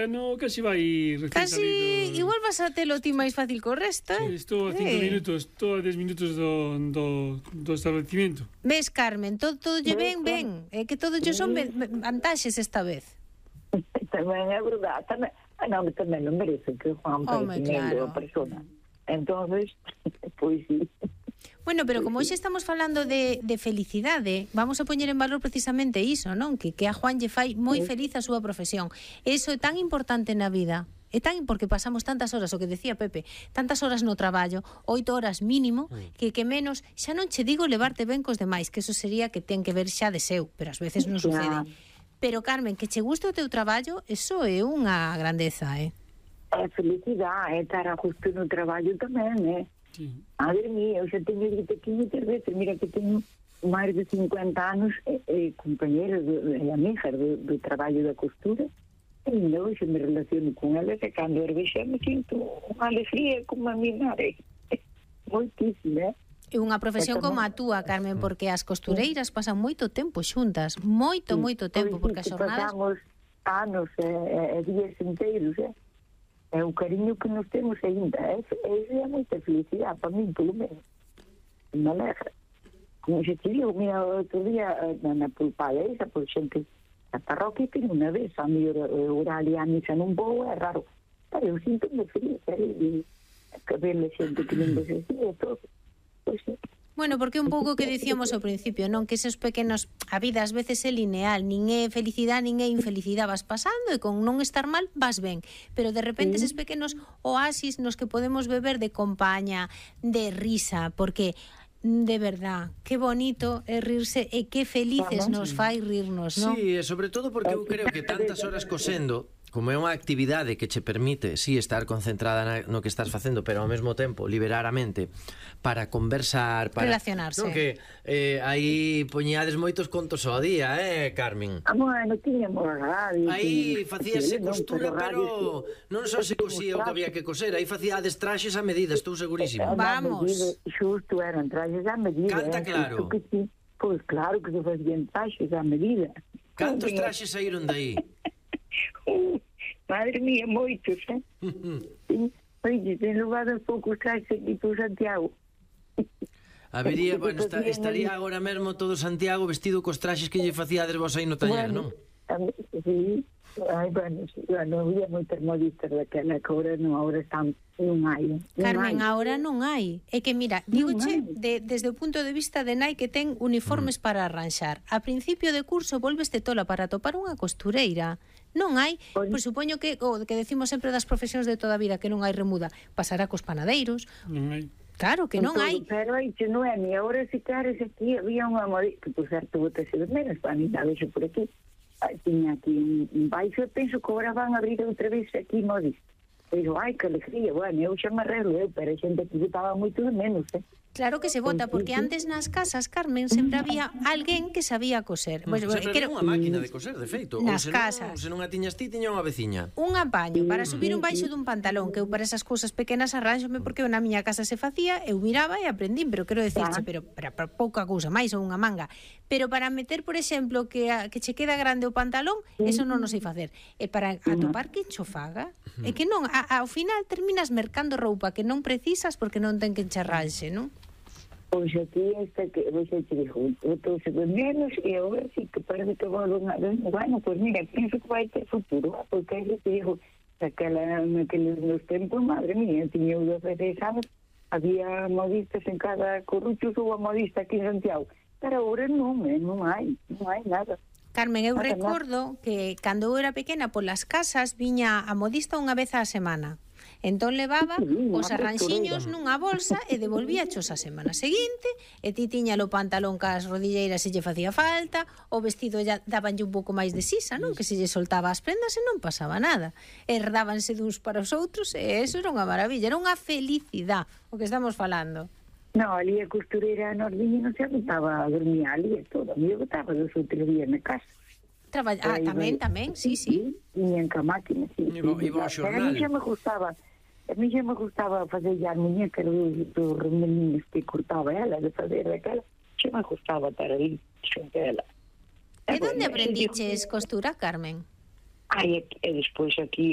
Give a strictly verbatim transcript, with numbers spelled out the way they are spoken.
No, casi vai recién Casi, salido. igual vas a telo ti máis fácil co resto, eh? Sí, estou a cinco Eh. minutos, estou a dez minutos do, do, do establecimiento. Ves, Carmen, todo, todo lle ben, ben. É que todo lle son ben- ben- vantaxes esta vez. Tamén é verdade. Tamén, ah, non, tamén non merece que Juan Home, parece claro. a persona. Entonces, pois sí. Bueno, pero como hoxe estamos falando de, de felicidade, vamos a poñer en valor precisamente iso, non? Que, que a Juan lle fai moi feliz a súa profesión. Eso é tan importante na vida. É tan porque pasamos tantas horas, o que decía Pepe, tantas horas no traballo, oito horas mínimo, que que menos, xa non che digo levarte ben cos demais, que eso sería que ten que ver xa de seu, pero ás veces non sucede. Pero, Carmen, que che guste o teu traballo, eso é unha grandeza, eh? É felicidade, é estar a justo no traballo tamén, eh? Sí. Madre mía, eu xa teño dito aquí moitas veces, mira que teño máis de cincuenta anos e, e compañeros e amigas do, do traballo da costura, e ainda hoxe me relaciono con elas e cando ergue xa me sinto unha alegría como a mi madre. Moitísima, eh? É unha profesión como a túa, Carmen, porque as costureiras pasan moito tempo xuntas, moito, moito tempo, porque as xornadas... Pasamos anos e, e, e días inteiros, eh? É o cariño que nos temos ainda. É, é, é moita felicidade para mí, pelo menos. Me alegra. Como xa te digo, mira, outro día na, na pulpada esa, por xente a parroquia que unha vez a mi horario a misa non vou, é raro. Pero eu sinto-me feliz, e que ver a xente que non ves así, e todo. Pois sí. Bueno, porque un pouco que dicíamos ao principio, non? Que esos pequenos... A vida ás veces é lineal, nin é felicidade, nin é infelicidade, vas pasando e con non estar mal vas ben. Pero de repente esos pequenos oasis nos que podemos beber de compaña, de risa, porque... De verdad, que bonito é rirse e que felices nos fai rirnos, non? Sí, e sobre todo porque eu creo que tantas horas cosendo, como é unha actividade que che permite, sí, estar concentrada na, no que estás facendo, pero ao mesmo tempo liberar a mente para conversar, para relacionarse. Non, que eh, aí poñiades moitos contos ao día, eh, Carmen? Ah, bueno, tiñamos radio. Aí facíase costura, pero non só se cosía o que había que coser, aí facíades traxes a medida, estou segurísimo. Vamos. Xusto, eran traxes a medida. Canta claro. Que sí. Pois claro que se facían traxes a medida. Cantos traxes saíron dai? Madre mía, moitos, eh? Oye, ten levado poucos traxes aquí por Santiago. Habería, bueno, está, estaría agora mesmo todo Santiago vestido cos traxes que lle facíades vos aí no taller, Bueno, non? Sí, ai, bueno, sí, bueno, había moitas modistas daquela que agora non, agora están, non hai. Non Carmen, hai. agora non hai. É que, mira, dígoche de, desde o punto de vista de nai que ten uniformes mm. para arranxar. A principio de curso volveste tola para topar unha costureira. Non hai, Pois. pois supoño que o que decimos sempre das profesións de toda a vida, que non hai remuda, pasará cos panadeiros. Non hai. Claro que non Entón, hai. Pero aí, che non é, ni agora se queres aquí, había unha modista, que por certo botase de menos, para mí, a vexo por aquí. Ai, tiña aquí un, un baixo, e penso que agora van a abrir outra vez aquí modista. Pero, ai, que alegría, bueno, eu xa me arreglo, eu, pero a xente que botaba moito de menos, eh? Claro que se vota, porque antes nas casas, Carmen, sempre había alguén que sabía coser. Mm, Pois, sempre quero- era unha máquina de coser, de feito. Nas Ou se non- casas. Se non a tiñas ti, tiña unha veciña. Un apaño para subir un baixo dun pantalón, que eu para esas cousas pequenas arranxome porque eu na miña casa se facía, eu miraba e aprendín, pero quero decirche, pero para, para pouca cousa máis ou unha manga. Pero para meter, por exemplo, que a, que che queda grande o pantalón, eso non o sei facer. E para atopar que cho faga, é que non, a, ao final terminas mercando roupa que non precisas porque non ten que encharranxe, non? Pois aquí esta que você te dijo, botou-se de menos e agora sí que parece que vou unha vez. Bueno, pois mira, penso que vai ter futuro, porque aí te dijo, naquela, naqueles nos tempos, madre mía, tiña eu dezasseis anos, había modistas en cada corrucho, ou a modista aquí en Santiago. Pero agora non, eh, non hai, non hai nada. Carmen, eu Nada, recordo que cando eu era pequena polas casas viña a modista unha vez á semana. Entón levaba Sí, os unha arranxiños costureira. nunha bolsa e devolvía chos a semana seguinte, e ti tiña o pantalón cas rodilleiras se lle facía falta, o vestido ya dabanlle un pouco máis de sisa, non? Que se lle soltaba as prendas e non pasaba nada. Herdábanse duns para os outros e eso era unha maravilla, era unha felicidade o que estamos falando. No, ali a costureira nos viña non se aguantaba a dormir ali e todo. A mí eu botaba dos outros días na casa. Traball... Ah, Aí, tamén, vai. tamén, sí, sí. Viñan ca máquina, sí. Iba- sí, iba ao sí. Pero a xornal. mí xa me gustaba, a mí xa me gustaba fazer a muñeca dos, dos remelinos que cortaba ela, de fazer aquela, xa me gustaba estar ali xunto a ela. E bueno, onde e aprendiches digo, costura, Carmen? Ai, e, e despois aquí